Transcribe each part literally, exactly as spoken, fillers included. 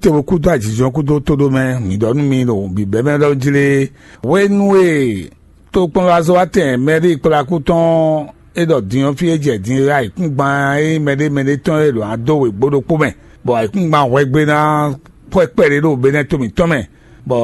Te bo kúdó ajijɔ kúdó tóɖó mɛ, mǐ ɖɔ nú mi ɖo bǐbɛ́mɛ ɖɔ jlé. Hwenu e tokpɔnlazɔ́watɛn mɛɖée kplá kú tɔn é ɖɔ din ɔ́, fí e jɛ din é ayǐkúngban e mɛɖé mɛɖé tɔn e ɖo ná dó wěgbó ɖokpó mɛ, bɔ ayǐkúngban hwɛgbe ná xwɛ kpɛɖé ɖo Benɛ́ to mǐtɔn mɛ, bɔ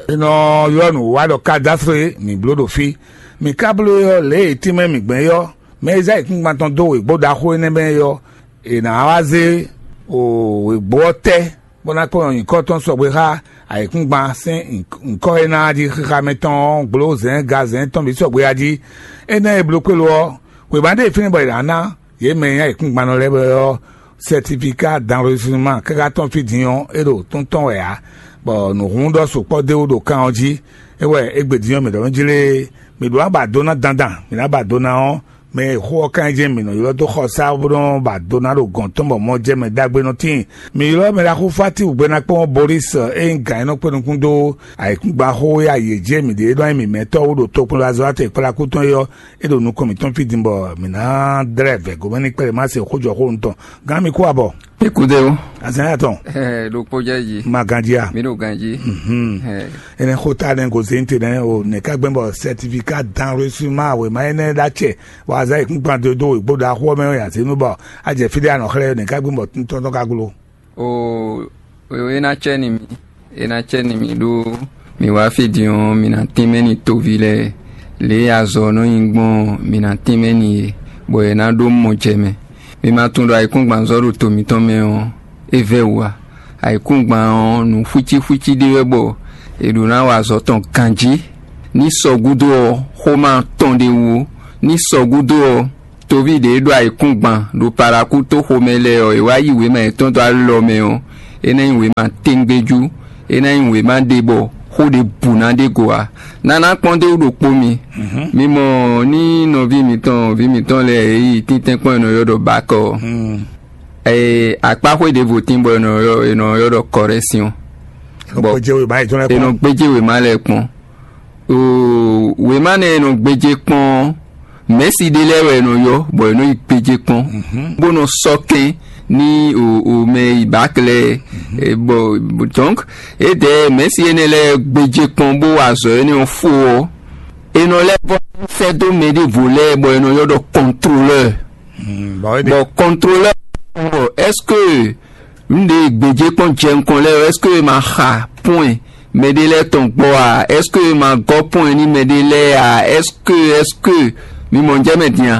è nɔ ylɔ́ nǔwiwa ɖɔ Kadásre, mǐ bló ɖo fí. Mǐ ka bló é ɔ́, lě e tínmɛ mǐ gbɛn é ɔ́, mɛ e zé ayǐkúngban tɔn dó wěgbó ɖaxó énɛ́ mɛ é ɔ́, è nǎ wá zé wěgbó ɔ́ tɛ́ bó ná kplɔ́n nyǐkɔ tɔn sɔgbe xá ayǐkúngban sín nyǐkɔ e ná jí xixa mɛ tɔn ɔ́ gbló zɛ̌n gazɛ̌n tɔn bǐ sɔgbe a jí. Énɛ́ e bló kpélo ɔ́, wěma ɖé e fínɛ́ bɔ è nǎ ná yě mɛ e nyí ayǐkúngban lɛ́ɛ ɔ́, sɛtifika danwesima káká tɔn fí din ɔ́, é ɖo tɔ́n tɔn wɛ ǎ, bɔ nǔhún ɖɔ sukpɔ́ d'é wú ɖo kan ɔ́ jí. É wɛ égbé din ɔ́, mǐ ɖɔ nú jí lé, mǐ ɖó ná ba do ná dandan, mǐ ná ba do ná ɔ́, mɛ e xó ɔ́ ka nyí jɛ́n mǐ nɔ ylɔ́ dó xɔ sá bó nɔ́ ba do ná ɖo gɔ̌n tɔn bɔ mɔ jɛ mɛ ɖagbe nɔ tíin. Mi ylɔ́ mɛ ɖaxó Fati Gbenakpɔ́n Boris e nyí gǎn e nɔ kpé nukún dó ayǐkúngban xó e ayǐ e jí e mǐ ɖe e nɔ nyí mǐmɛtɔ́ wú ɖo tokpɔnlazɔ́ kplakú tɔn é ɔ́, é ɖo nukɔn mǐtɔn fí din bɔ mǐ ná dlɛ́ vɛ̌ gomɛ ní kplɛ́ má se xójɔxónu tɔn. Gán mi kú abɔ. Écoutez-vous. Azɛn atɔn. Ɛ ɖokpó jɛ yi. Ma ganji a. Mi ɖo ganji. Mhm. Ɛ Ene xota ne gozente ne o ne ka gbɛn bɔ certificat d'enregistrement wema ene da cɛ wa za ikun kpan do do igbo da xɔ mɛ ya zenu bɔ a jɛ fi de anɔ xlɛ ne ka gbɛn bɔ tɔntɔn ka glo. O o e na cɛ ni mi. E na cɛ ni mi ɖo mi wá fi din ɔ́, mi na tínmɛ ni toví lɛ́ɛ. Lě e azɔ nɔ nyi gbɔn ɔ́, mi na tínmɛ ni ye, bɔ è nǎ ɖó mɔ jɛ mɛ. Mi ma tunwun ɖɔ ayǐkúngban zɔ́ ɖo to mǐtɔn mɛ ɔ́, é vɛ́ wǔ ǎ. Ayǐkúngban ɔ́, nǔ xwícíxwící ɖé wɛ bɔ è ɖǒ ná wa azɔ̌ tɔn ganjí. Ní sɔ gúdo ɔ́, xó ma tɔn ɖé wú ó. Ní sɔ gúdo ɔ́, toví ɖě e ɖo ayǐkúngban ɖo Palakú tó xomɛ lɛ́ɛ ɔ́, è wá yí wěma yětɔn dó alɔ mɛ ɔ́, é ná nyí wěma téŋgbéjú, é ná nyí wěma ɖé bɔ xó ɖě bǔ ná ɖe go ǎ. Nana kpɔ́n dó ɖokpó mi. Mi mɔ ní nɔví mǐtɔn, vǐ mǐtɔn lɛ́ɛ e yi tíntɛ́nkpɔ́n e nɔ ylɔ́ ɖɔ bakɔ ɔ́, ee, akpáxwé ɖěvo tín bɔ è nɔ ylɔ́ è nɔ ylɔ́ ɖɔ kɔrɛ́syɔn. Bɔ Gbɔjɛ́wé báyìí tɔn lɛ́ è nɔ kpɔ́n. Gbéjé wěma lɛ́ɛ kpɔ́n. Oo, wěma nɛ́ e nɔ gbéjé kpɔ́n ɔ́, mɛ̌si ɖé lɛ́ɛ wɛ è nɔ ylɔ́, bɔ è nɔ yi gbéjé kpɔ́n, bó nɔ sɔ́ kɛn ní o o mɛ yi bǎklɛ́ e, bɔ donc, édɛɛ mɛ̌si énɛ́ lɛ́ɛ gbéjé kpɔ́n bó wa azɔ̌ énɛ́ ɔ́ fó ɔ́, è nɔ lɛ́ vɔ́ sɛ́ dó mɛ ɖěvo lɛ́ɛ bɔ è nɔ ylɔ́ ɖɔ kɔntrolɛ́ɛ. Bɔ kɔntrolɛ́ɛ bɔ ɛ́sike nǔɖé gbějé kpɔ́n jɛ nukɔn lɛ́ɛ, ɛ́sike ma xa pɔ́n mɛɖé lɛ́ɛ tɔn gbɔ a? Ɛ́sike ma gɔ́ pɔ́n ní mɛɖé lɛ́ɛ a? Ɛ́sike ɛ́sike mi mɔ jɛ mɛ din a?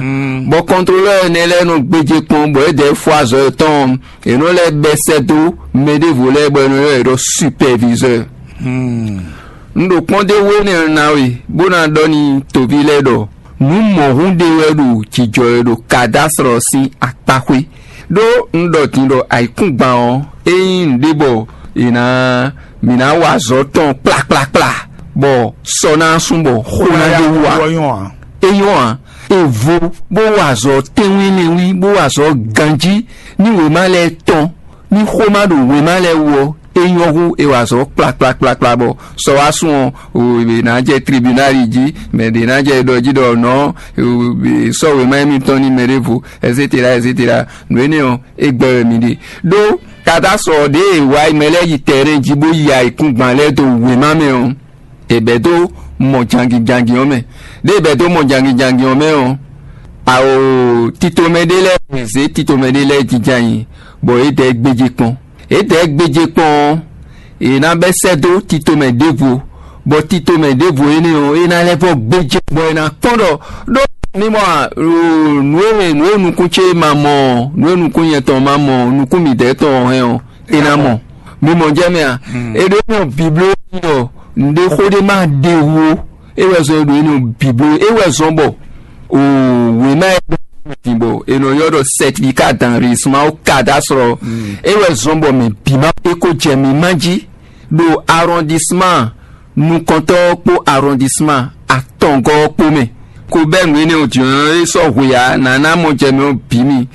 Bɔ kɔntrolɛ́ɛ énɛ́ lɛ́ɛ nɔ gbéjé kpɔ́n, bɔ é dɛ́ fó azɔ̌ yětɔn ɔ́, è nɔ lɛ́ bɛ́ sɛ́ dó mɛ ɖěvo lɛ́ɛ bɔ è nɔ ylɔ́ yě ɖɔ supɛvizɔ́ɔ. Un ɖo kpɔ́n d'é wú énɛ́ ɔ́ ná we, bó ná ɖɔ nú toví lɛ́ɛ ɖɔ nǔ mɔ̌hun ɖé wɛ ɖo jǐjɔ e ɖo Kadásrɔ sín akpáxwé. Ɖó un ɖɔ din ɖɔ ayǐkúngban ɔ́, é nyí nǔɖé bɔ è nǎ mǐ ná wa azɔ̌ tɔn kplakplakpla, bɔ sɔ ná sú bɔ xó ná ɖó wú ǎ. É nyɔ́ ǎ. È vo bó wa azɔ̌ tɛ́nwínlɛ́nwí, bó wa azɔ̌ ganjí ní wěma lɛ́ɛ tɔn, ní xó ma ɖo wěma lɛ́ɛ wú ɔ́, é nyɔ́ hú è wa azɔ̌ kplakplakplakpla bɔ sɔ wá sún ɔ́, è nǎ jɛ tribunali jí, mɛ ɖě ná jɛ ɖɔ jí ɖɔ nɔ̌ sɔ́ wěma émítɔn ní mɛ ɖěvo, etcetera etcetera. Nǔ énɛ́ ɔ́, é gbɛ́ wɛ mi ɖe. Ɖó Kadásɔ ɖě e è wa mɛ lɛ́ɛ yi tɛnrɛn jí bó yi ayǐkúngban lɛ́ɛ dó wěma mɛ ɔ́, è bɛ̌ dó mɔ jangin jangin ɔ́ mɛ. Ɖěe è bɛ̌ dó mɔ jangin jangin ɔ́ mɛ ɔ́, ao titomɛ ɖé lɛ́ɛ zě titomɛ ɖé lɛ́ɛ jínjɔ́n ayǐ, bɔ yě dɛ gbéjé kpɔ́n. Yě dɛ gbéjé kpɔ́n ɔ́, è nǎ bɛ́ sɛ́ dó titomɛ ɖěvo, bɔ titomɛ ɖěvo énɛ́ ɔ́, é ná lɛ́ vɔ́ gbéjé, bɔ è nǎ kpɔ́n ɖɔ ɖó mi mɔ a, nǔ e nǔ e nukún ce ma mɔ ɔ́, nǔ e nukún nyɛ tɔn ma mɔ ɔ́, nukún mǐdɛɛ tɔn ɔ́ hɛn ɔ́, è nǎ mɔ. Mi mɔ jɛ mɛ a? È ɖo énɛ́ ɔ́ bǐbló ɖɔ nǔɖé xó ɖé ma ɖe wú ó. É wɛ zɔn e ɖo énɛ́ ɔ́ bǐbló, é wɛ zɔn bɔ o wěma e ɖo din bɔ è nɔ ylɔ́ ɖɔ certificat d'enregistrement au cadastre ɔ́, é wɛ zɔn bɔ mɛ bǐ ma é ko jɛ mǐ ma jí ɖo arrondissement nukɔntɔ́ ɔ́ kpó arrondissement atɔngɔ́ ɔ́ kpó mɛ. Ko bɛ́ nǔ énɛ́ ɔ́ din ɔ́, é sɔ́ hwe ǎ, nǎ ná mɔ jɛ mɛ ɔ́ bǐ mi.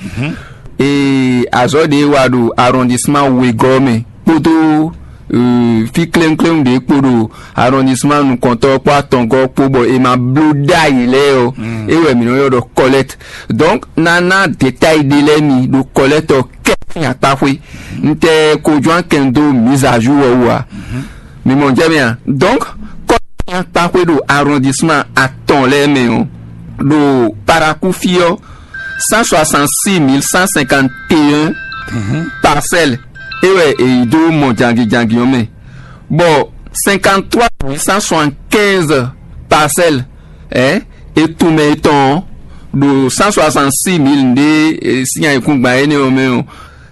Ee, azɔ̌ ɖě e wa ɖo arrondissement wegɔ́ ɔ́ mɛ kpódó fí kléwúnkléwún ɖě kpo ɖo arrondissement nukɔntɔ́ kpó atɔngɔ́ kpó bɔ è ma bló ɖ'ayǐ lɛ́ɛ ɔ́, é wɛ mǐ nɔ ylɔ́ ɖɔ collecte. Donc nana détail ɖé lɛ́ɛ mi ɖo collecte ɔ́ kɛ sín akpáxwé. Un tɛ ko jɔ́n akɛn dó mise à jour ɔ́ wú ǎ. Mi mɔ jɛ mɛ a? Donc kɔ sín akpáxwé ɖo arrondissement atɔn lɛ́ɛ mɛ ɔ́, ɖo Parakou fí ɔ́, cent soixante-six mille cent cinquante et un parcelles é wɛ è yi dó mɔ jangin jangin ɔ́ mɛ, bɔ cinquante-trois mille cent soixante-quinze parcelles, ɛ, e tunmɛ etɔn ɔ́, ɖo cent soixante-six mille ɖé sín ayǐkúngban énɛ́ ɔ́ mɛ ɔ́,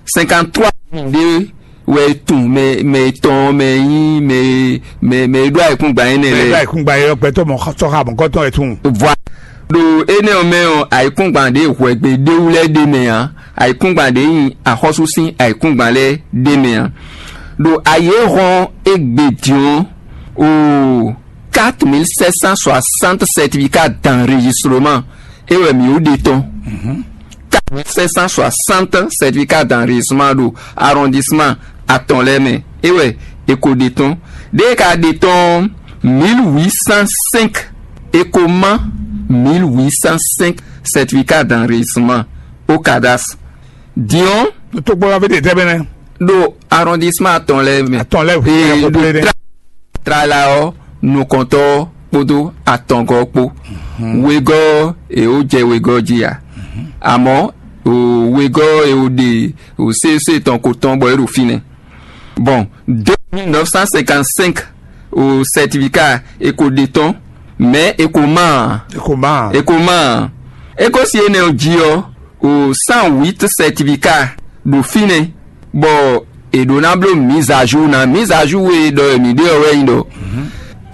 cinquante-trois mille ɖé wɛ e tun mɛ mɛ etɔn mɛ e nyí mɛ mɛ mɛ e ɖó ayǐkúngban énɛ́ lɛ́ɛ. Ayǐkúngban é ɔ́ gbɛtɔ́ mɔ sɔ́ xa mɔ̌kɔtɔn e tun. Vɔ ɖo énɛ́ ɔ́ mɛ ɔ́, ayǐkúngban ɖě hwɛgbe ɖéwú lɛ́ɛ ɖ'é mɛ ǎ, ayǐkúngban ɖě nyi axɔ́sú sín ayǐkúngban lɛ́ɛ ɖ'é mɛ ǎ. Ɖo ayǐ e hɔn égbé din ɔ́, o quatre mille sept cent soixante certificats d'enregistrement é wɛ mǐ ɖe tɔn. Quatre mille sept cent soixante certificats d'enregistrement ɖo arrondissement atɔn lɛ́ɛ mɛ é wɛ è ko ɖe tɔn. Ɖěe ka ɖe tɔn mille huit cent cinq, è ko má mille huit cent cinq certificats d'enregistrement au cadastre. Din ɔ́, tokpɔnɔ ví ɖe tɛ́ bɛnɛ ɖo arrondissement atɔn lɛ́ɛ mɛ. Atɔn lɛ́ɛ hu Ee, ɖo tra- trala ɔ́, nukɔntɔ́ ɔ́ kpódó atɔngɔ́ ɔ́ kpó. Wegɔ́ ɔ́, è ó jɛ wegɔ́ jí ǎ. Amɔ̌, o wegɔ́ ɔ́, è ó ɖe o C E C tɔn ko tɔn bɔ é ɖo fínɛ́. Bon, deux mille neuf cent cinquante-cinq o certificat è ko ɖe tɔn, mais è ko má ǎ. È ko má ǎ. È ko má ǎ. É ko si énɛ́ ɔ́ jí ɔ́, o cent huit certificat ɖo fínɛ́, bɔ è ɖǒ ná bló mise à jour ná. Mise à jour e ɖɔ mǐ ɖe ɔ́ wɛ nyí ɖɔ,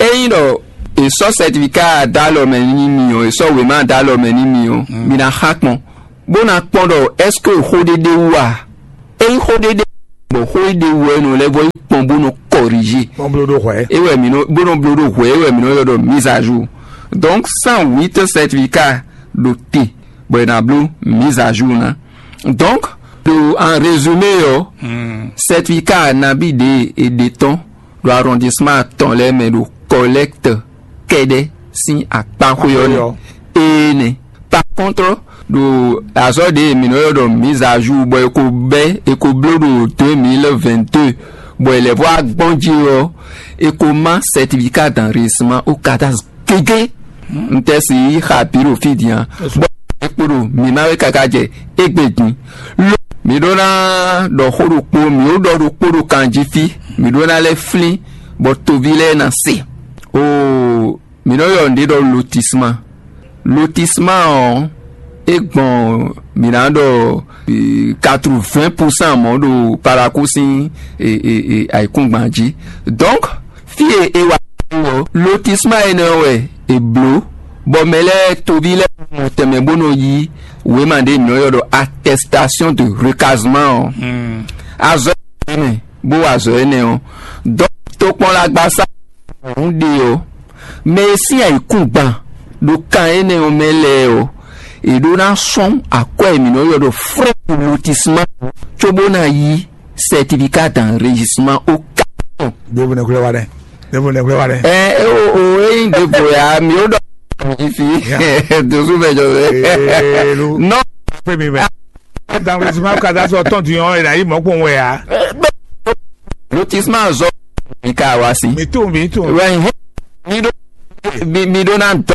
ényí ɖɔ è sɔ́ certificat dó alɔ mɛ n'i mì ɔ́, è sɔ́ wěma dó alɔ mɛ n'i mì ɔ́, mi ná xa kpɔ́n, bó ná kpɔ́n ɖɔ est-ce que xó ɖé ɖ'é wú a? Ényí xó ɖé ɖ'é wú, bɔ xó é ɖ'é wú ɔ́, é nɔ lɛ́ vɔ́ yi kpɔ́n bó nɔ corriger. Bó nɔ bló ɖó hwɛ̌. É wɛ mǐ nɔ bó nɔ bló ɖó hwɛ̌, é wɛ mǐ nɔ ylɔ́ ɖɔ mise à jour. Donc cent huit certificat ɖo te bɔ è nǎ bló mise à jour ná. Donc ɖo en résumé ɔ́, certificat nabí ɖě è ɖe tɔn ɖo arrondissement atɔn lɛ́ɛ mɛ ɖo collecte kɛ́ɖɛ́ sín akpáxwé ɔ́ nɛ́. Énɛ́. Par contre, ɖo azɔ̌ ɖě mǐ nɔ ylɔ́ ɖɔ mise à jour bɔ è ko bɛ́ è ko bló ɖo deux mille vingt-deux, bɔ è lɛ̌ vɔ́ wá gbɔn jí ɔ́, è ko má certificat d'enregistrement au cadastre gégé. Un tɛ si yi xa bǐ ɖo fí din ǎ. Bɔ é kpo ɖo mǐ má wɛ káká jɛ égbé din. Lo mǐ ɖó ná ɖɔ xó ɖokpó, mǐ ó ɖɔ ɖokpó ɖo kan jí fí, mǐ ɖó ná lɛ́ flín bɔ toví lɛ́ɛ ná se. Oo, mǐ nɔ ylɔ́ nǔɖé ɖɔ lotissement. Lotissement ɔ́, é gbɔn mǐ ná ɖɔ quatre-vingts pour cent mɔ̌ ɖo Parakou sín ayǐkúngban jí. Donc fí e è wa ɔ́, lotissement énɛ́ ɔ́ wɛ è blǒ, bɔ mɛ lɛ́ɛ toví lɛ́ɛ mɔ tɛnmɛ bó nɔ yí wěma ɖé mǐ nɔ ylɔ́ ɖɔ attestation de recasement ɔ́. Azɔ̌ énɛ́ bó wa azɔ̌ énɛ́ ɔ́, dɔ̌ tokpɔnlagbasá ɔ́ ɖe ɔ́, mɛ e sín ayǐkúngban ɖo kan énɛ́ ɔ́ mɛ lɛ́ɛ ɔ́, è ɖó ná sɔ́n akwɛ́ e mǐ nɔ ylɔ́ ɖɔ frɛ lotissement cóbó ná yí certificat d'enregistrement au cadastre. Ɖěvo nɛ́ xwlɛ́ wa ɖɛ. Ɖěvo nɛ́ xwlɛ́ wa ɖɛ. Ɛ o o ényí ɖěvo ya mi ó ɖɔ mi fi dozu mɛ jɔ mɛ. Ee, lu. Non. Fue mi mɛ. D'enregistrement au cadastre tɔn ti yɔn e na yi mɔ kpɔn wɛ ya. Lotissement zɔ mi ka wa si. Mi tún mi tún. Wɛ mi ɖó mi mi ɖó ná dɔ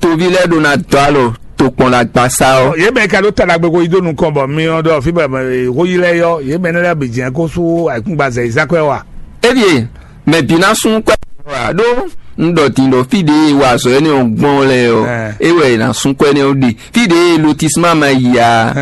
toví lɛ́ɛ ɖó ná dɔ alɔ tokpɔn la gbasa ɔ. Yě mɛ ka ɖó ta ɖagbe ko yi dó nukɔn bɔ mi ɔ́ ɖɔ fí bɔ xó yi lɛ́ɛ yɔ yě mɛ nɛ lɛ́ɛ bǐ jɛ́n kó sú ayǐkúngban zɛ yi zán kwɛ́ wa. Ebie mɛ bǐ ná sún kwɛ́ wa ɖó un ɖɔ din ɖɔ fí ɖě e wa azɔ̌ énɛ́ ɔ́ gbɔn lɛ́ɛ ɔ́, é wɛ è nǎ sún kwɛ́ énɛ́ ɔ́ ɖe. Fí ɖě e lotisma ma yi a,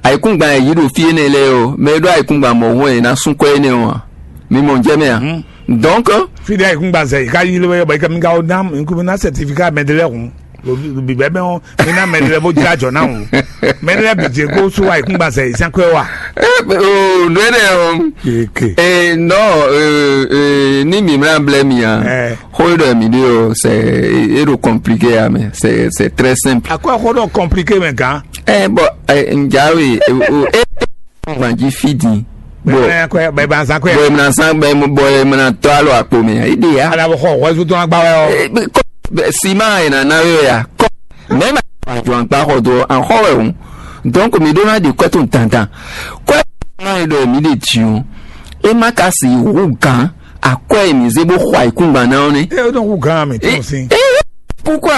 ayǐkúngban e yǐ ɖo fí énɛ́ lɛ́ɛ ɔ́, mɛ e ɖó ayǐkúngban mɔ̌hun wɛ è nǎ sún kwɛ́ énɛ́ ɔ́ a? Mi mɔ jɛ mɛ a? Donc, fí ɖě ayǐkúngban zɛ yi ká yi lé wɛ bɔ yi ká mi ka wó ná mi kú mi ná certificat mɛ ɖé lɛ́ɛ hǔn. Bǐbɛ́ mɛ ɔ́, mi ná mɛ ɖé lɛ́ɛ bó jlá jɔ ná hǔn. Mɛ ɖé lɛ́ɛ bǐ jɛ kó sú ayǐkúngban zɛ yi sɛn kwɛ wa. Nú énɛ́ ɔ́, nɔ ní mǐmlá blɛ́ mi a, xó e ɖɔ mǐ ɖe ɔ́, c'est é ɖo compliqué a mɛ, c'est c'est très simple. Akwɛ́ xó ɖɔ compliqué mɛ gǎn. Ɛ bɔ ɛ njawe o e gbɔn jí fí din Bɔ bɛ ba zan kwɛ. Bɔ emla san bɛ bɔ emla tɔ alɔ akpo mɛ. Ede ya. Ala bɔ xɔ wɛzu tɔn agba wɛ ɔ. Siman e nana we ya kɔ. Mɛ ma jɔ ankpa xɔ do an xɔ wɛ o. Donc mi ɖó ná ɖi kwɛ tɔn dandan. Kwɛ ma e ɖɔ mi ɖe dzi o. E ma ka si wu gan akwɛ e mi zé bó xɔ ayikúngban ná ɔ́ nɛ. E o dɔn wu gan mi tɔn si. Kúkú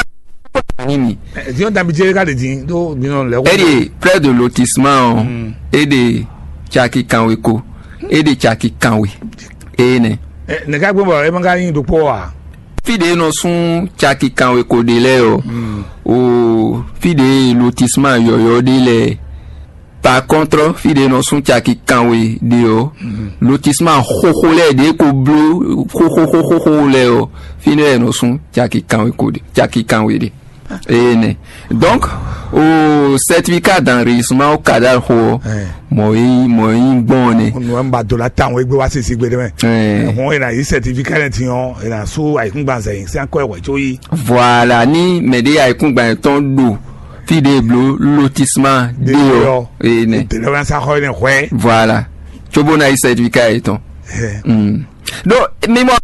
a ní mi. Diɲɔ danbi jɛ ka ɖe din ɖó mi nɔ lɛ. E ɖe près de lotissement ɔ. E ɖe caki kanwe ko. E ɖe caki kanwe. Eye nɛ. Nɛgɛ gbɔn bɔ e ma ka yin ɖokpɔ wa. Fi ɖe nɔ sún caki kanwe ko ɖe lɛ ɔ. O fi ɖe lotissement yɔyɔ ɖe lɛ. Par contre, fi ɖe nɔ sún caki kanwe ɖe ɔ. Lotissement xoxo lɛ ɖe ko bló xoxo xoxo lɛ ɔ. Fi ɖe nɔ sún caki kanwe ko ɖe caki kanwe ɖe. Eye nɛ. Donc o certificat d'enregistrement o cadal xo ɔ. Mɔ yi mɔ yi gbɔn nɛ. Nua ba do la tan o egbe wa sisi gbe de mɛ. Hɔn ena yi certificat ne tiɲɔ ena su ayikungban zɛ yi sɛn kɔ ɛwɛ tso yi. Voilà, ni mɛ ɖe ayikungban tɔn ɖo fi ɖe blo lotissement ɖe ɔ. Eye nɛ. Tele wa sa xɔ ne hwɛ. Voilà. Tsobo na yi certificat yi tɔn. Donc mi mɔ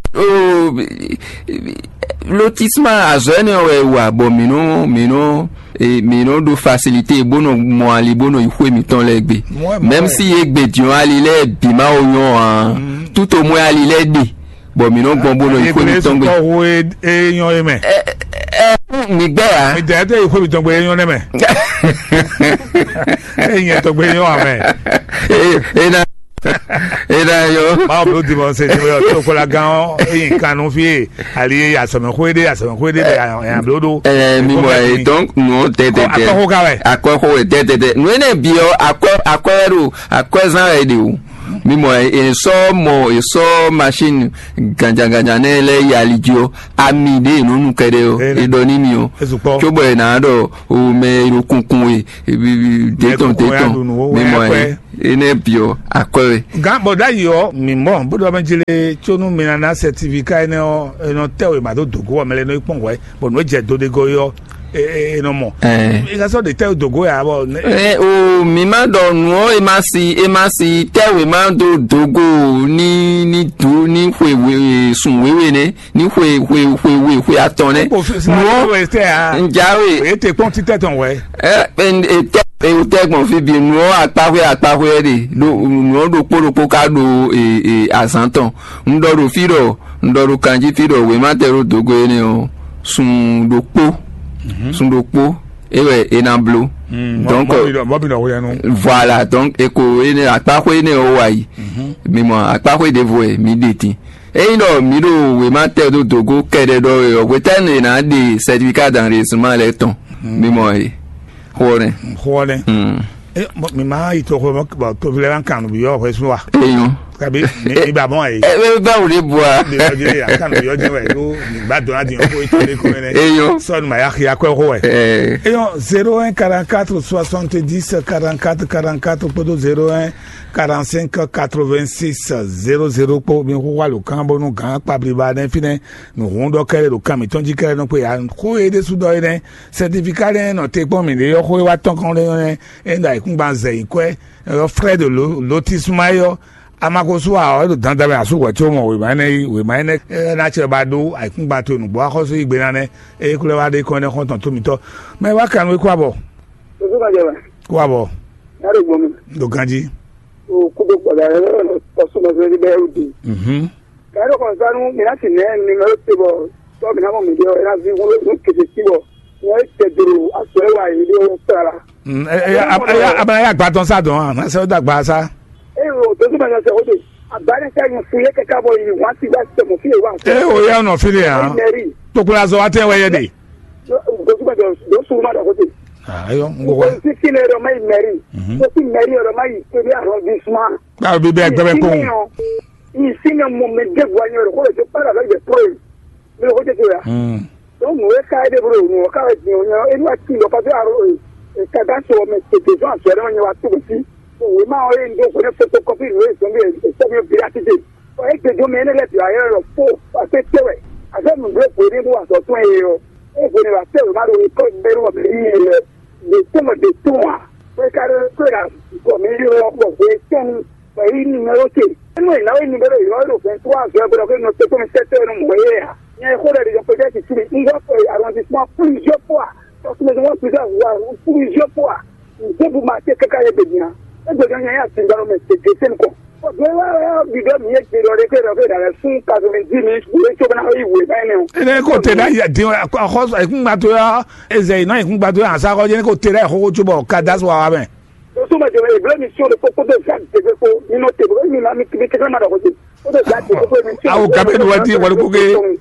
lotissement azɔ ɛnɛ wɛ wa bɔ mi nɔ mi nɔ mi nɔ ɖo facilité bó nɔ mɔ ali bó nɔ yi xwé mitɔn lɛ gbe. Même si ye gbe diɔn ali lɛ bi ma o nyɔ a tout au moins ali lɛ ɖe bɔ mi nɔ gbɔn bó nɔ yi xwé mitɔn gbe. Kɔhu e nyɔ e mɛ. Mi gbɛ ya. Mi dɛ tɛ yi xwé mitɔn gbe e nyɔ ne mɛ. E nyɛ tɔgbe e nyɔ amɛ. E na Ena yo. Mawu bló dimɔ se ti wɛ ɔ tó kpla gán ɔ eyin kan nú fí e ali e asɔmɛxó e ɖe asɔmɛxó e ɖe bɛ ɛ bló ɖó. Ɛ mi mɔ ɛ donc nù tɛtɛtɛ. Akɔxó ka wɛ. Akɔxó wɛ tɛtɛtɛ nù ene bi ɔ akɔ akɔ wɛ ɖo akɔ zan wɛ ɖe o. Mi mɔ ɛ esɔ mɔ esɔ machine ganjaganjan nɛ lɛ yi ali jí ɔ ami ɖe nɔ nu kɛɖɛ ɔ edɔ ní mi ɔ. Tso bɔ ɛ nà ɖɔ o mɛ e ɖo kunkun e detɔn detɔn mi mɔ ɛ. Enɛ biɔ akwɛ we. Gán bɔ ɖ'ayǐ ɔ́, mǐ mɔ bó ɖɔ mɛ jlé có nú mi ná ná sɛtifiká énɛ́ ɔ́, è nɔ tɛ́ wěma dó dǒgó ɔ́, mɛ lɛ́ɛ nɔ yi kpɔ́n hwɛ̌, bɔ nǔ e jɛ do ɖe gɔ́ é ɔ́, è nɔ mɔ. Ɛ nɔ sɔ́ ɖe tɛ́ wě dǒgó ǎ bɔ. Ɛ o mǐ má ɖɔ nǔ ɔ́, è má si è má si tɛ́ wěma dó dǒgó ní ní dǔ ní xwe sun wěwe nɛ́ ní xwe xwe xwe we xwe atɔn nɛ́. Nǔ ɔ́ njà we. Èyí tè kpɔ́n títẹ̀ tɔn wɛ. Ɛ ɛ tɛ ewutɛ gbɔn fí bǐ nǔ ɔ́ akpaxwé akpaxwé ɛ ɖe ɖo nǔ ɔ́ ɖokpó ɖokpó ká ɖo azǎn tɔn. Un ɖɔ ɖo fí ɖɔ un ɖɔ ɖo kanjí fí ɖɔ wěma tɛ ɖo dǒgo énɛ́ ɔ́ sun ɖokpó sun ɖokpó é wɛ é ná bló. Donc voilà, donc eko énɛ́ akpaxwé énɛ́ ɔ́ wa yi. Mi mɔ akpaxwé ɖěvo wɛ mi ɖe din. Ényí ɖɔ mǐ ɖo wěma tɛ dó dǒgó kɛɖɛ ɖɔ wɛ ɔ́, hwetɛ́nu è nǎ ɖe sɛtifiká danɖe sunma lɛ́ɛ tɔn? Mi mɔ e xó ɔ́ nɛ́. Xó ɔ́ nɛ́. Mi ma yi toxo bɔ toví lɛ́ɛ ma kan nǔ byɔ́ hwɛsún wa. Eyɔn. Kabi mi ba mɔ ayi. Ebe báwo de bu a? Byɔ́ jɛ ya kan byɔ́ jɛ wɛ yó mi ba dɔn adi ko ito de ko mɛ nɛ. Eyɔn. Sɔni ma ya xia kɔ xó wɛ. Eyɔn zéro un quarante quatre soixante dix quarante quatre quarante quatre kpódó zéro un quarante cinq quatre vingt six zéro zéro kpó mi xó wa lo kan bónú gǎn kpabliba nɛ fínɛ́. Nǔhún ɖɔ kɛ́ɖɛ́ ɖo kan mǐtɔn jí kɛ́ɖɛ́ nɔ kpe ǎ. Xó e ɖésú ɖɔ é nɛ́, sɛtifika lɛ́ɛ nɔ te kpɔ́n mǐ ɖe ɔ́, xó e wá tɔn kɔn ɖé nɛ́, é ɖo ayǐkúngban zɛ nyǐkɔ ɛ, ɔ́ frɛ́ ɖo lotisma é ɔ́, amagosu ǎ ɔ́, é ɖo dandan mɛ asú hwɛ̌ có mɔ wěma énɛ́ yí, wěma énɛ́ ná cɛ ba ɖó ayǐkúngban towe nǔgbó axɔ́sú yí gbe ná nɛ́, é klɛ́ wá ɖe kɔn ɛnɛ́ xɔ́ntɔn tó mitɔ́. Mɛ wá kan nú é kó abɔ. Kó abɔ. Ɖo ganjí. Kudo kpɔɖa yɛ lɔ tɔsu mɛ fɛnɛ bɛ o di. Mhm. Ka yɛ kɔn sanu mi na si nɛ mi mɛ o te bɔ tɔ mi na mɔ mi de ɔ na vi wolo nu kete si bɔ nyɛ e tɛ doro asɔ e wa yi de o sara. Mm, e, e, a, a, a, a, a gba tɔn sa dɔn a na sɛ o da gba sa. E o tɔsu mɛ sɛ o de a ba ne sɛ yin fu ye kaka bɔ yi wa si ba sɛ mo fi ye wa. E o ya nɔ fi de ya. Mɛri. Tokula zɔ wa tɛ wɛ yɛ de. Tɔsu mɛ do su ma da ko te. Ayo, n ko wa. Ko si kile dɔ ma yi mɛri. Mhm. Ko si mɛri dɔ ma yi ko bi arrondissement. Báwo bí bẹ́ẹ̀ gbẹ́bẹ́ kó. Ici même mon me dévoigneur ko je parle avec des preuves. Mais ko je ya. Hmm. Donc nous ka de bro nous ka de nous et nous a qui le pas à et ka dans ce mais c'est des gens qui sont venus à tout aussi. Oui, ma on est donc on est photocopie nous sommes bien c'est bien véracité. Et que je mène les ailleurs le faux parce que c'est vrai. Avec nous le pour nous à ce soin et et vous ne va faire mal au code de l'homme. De tout de tout. Ko ka ko la ko mi yo ko ko tun. Ko yi ni Wa zɔ gbɔdɔ ko nɔ tɛtɛ mi tɛtɛ nɔ mɔ ye a. Nyɛ xo ɖe ɖe peut-être tu mi un va arrondissement plusieurs fois. Parce que moi plusieurs fois plusieurs fois. Nze bu ma te kaka ye be nya. E be nya ya ti ndaro me te de sen ko. Bi do mi ye te do de ke do ke da sun quatre-vingt-dix minutes bu e to bana yi we ba ne. Ene ko te da ya di xɔ ikun gba to ya. Eze na ikun gba to ya sa ko je ko te da xɔ ko to bɔ ka da so wa mɛ. Doso ma jɛ eble mission de kpokpo de Jacques de kpokpo mi nɔ te bo mi ma mi mi kekle ma dɔ ko te. O de Jacques de kpokpo mission. Awo gabe do wa di wali ko ke.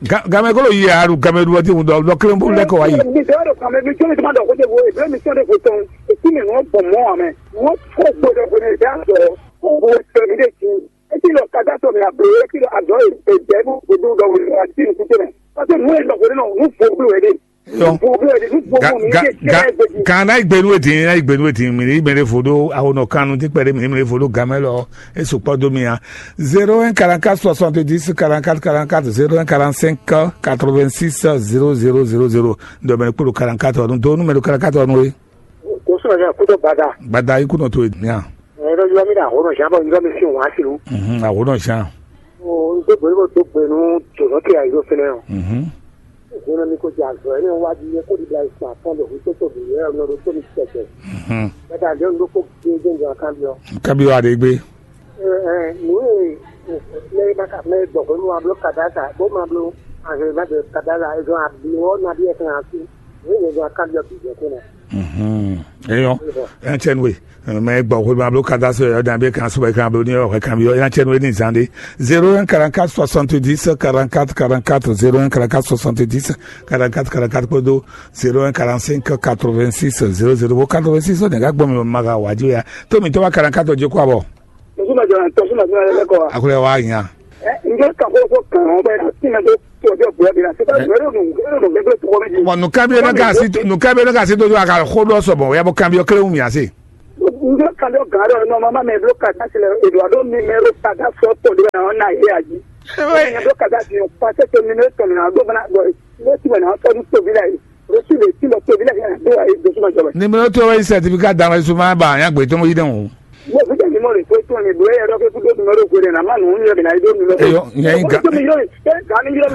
Gamɛ kolo yi alu gamɛ do wa di wundɔ dɔ kelen bu lɛ ko wa yi. Mi dɔ do kan mi mission de ma dɔ ko te bo eble mission de ko tɔn. E ti mi no bɔ mɔ amɛ. Mo ko gbɔdɔ ko ne da dɔ. Ko ko te mi de ti. E ti lɔ kata to mi a bo e ti lɔ a dɔ e e de bu ko do dɔ wuli a ti ku te mɛ. Parce que mo e dɔ ko no nu fo blo e de. Kan na igbenu edin na igbenu edin mi ni mele fo ɖo awonɔ kannu ti kpɛɖe mi ni mele fo ɖo gamɛ lɔ e sukpɔ do mi ya. Zéro un quarante-quatre soixante-dix quarante-quatre quarante-quatre, zéro un quarante-cinq quatre-vingt-six zéro zéro zéro zéro. Dɔ mɛ kpolo quarante-quatre ɔnu do numero quarante-quatre ɔnu e. Kò sọ̀rọ̀ ní àkójọ gbada. Gbada ikú nɔ to e mi ya. Ẹ̀rọ yọ mí dà àwòrán ṣáà bọ̀ yọ mí sí òun á sí o. Mhm, àwòrán ṣáà. O n tó gbèrú kó tó gbèrú jòló kí àyè ló fẹ́lẹ́ o. Mhm. Gbèrú mi kò jẹ àzọ ẹni wá di yẹ kó di bla ìsìn àtọ́ lè hu tó tó bì yẹ ọ̀nà ló tó mi tẹ̀tẹ̀. Mhm. Bẹ́ẹ̀ dà lé olóko gbé gbé ǹjọ́ kan bí ọ. Kábíyọ̀ Adégbé. Ẹ ẹ nù ẹ lẹ́yìn bá kà mẹ́ gbọ̀gbọ́ ní wàá bló kàdá kà bó máa bló àhẹ́ má bẹ̀rẹ̀ kàdá la ẹ̀dùn àbí wọ́n nàbí ẹ̀sìn àti ní ìyẹn kan bí ọ bì jẹ́ kó náà. Mhm. Eyɔn, ɛn cɛn we. Mɛ gbɔ ko ma blo cadastre yɔ dan be kan sɔbɛ kan blo ni yɔ kan yɔ yan cɛn we ni zande. Zéro un quarante-quatre soixante-dix quarante-quatre quarante-quatre, zéro un quarante-quatre soixante-dix quarante-quatre quarante-quatre kpodo zéro un quarante-cinq quatre-vingt-six zéro zéro quatre-vingt-six ne ka gbɔ mi ma ka wa ji ya. To mi to ba quarante-quatre je kwa bɔ. Tɔsuma jɔ tɔsuma jɔ lɛ kɔ wa. Akule wa nya. Ɛ njɛ ka ko ko kan o bɛ na ti na do to jɔ bɛ bi na se ba yɔrɔ nu yɔrɔ nu bɛ bɛ tɔgɔ mi. Bon, nu kan bi na ka si nu kan bi na ka si to jɔ a ka ko do so bon ya bo kan bi o kle mi ase. N jɔ kan dɔ gan dɔ nɔ mama mɛ blo kata si lɛ Eduardo mi mɛ ro kata sɔ to de na na ye aji. Mɛ blo kata si o pase to mi ne to mi na do bana bɔ ne ti bana to mi to bi la ye. Rosu le ti lɔ to bi la ye do ayi do suma jɔbɛ. Numéro to wa yi certificat d'enregistrement ba yan gbe to mo yi den o. Mo fi jɛ numéro to to ni do ye dɔ ke ku do numéro ko de na ma nu ni bi na yi do numéro. Eyo, nya yi ga. Ko mi yo, ke ga ni yo.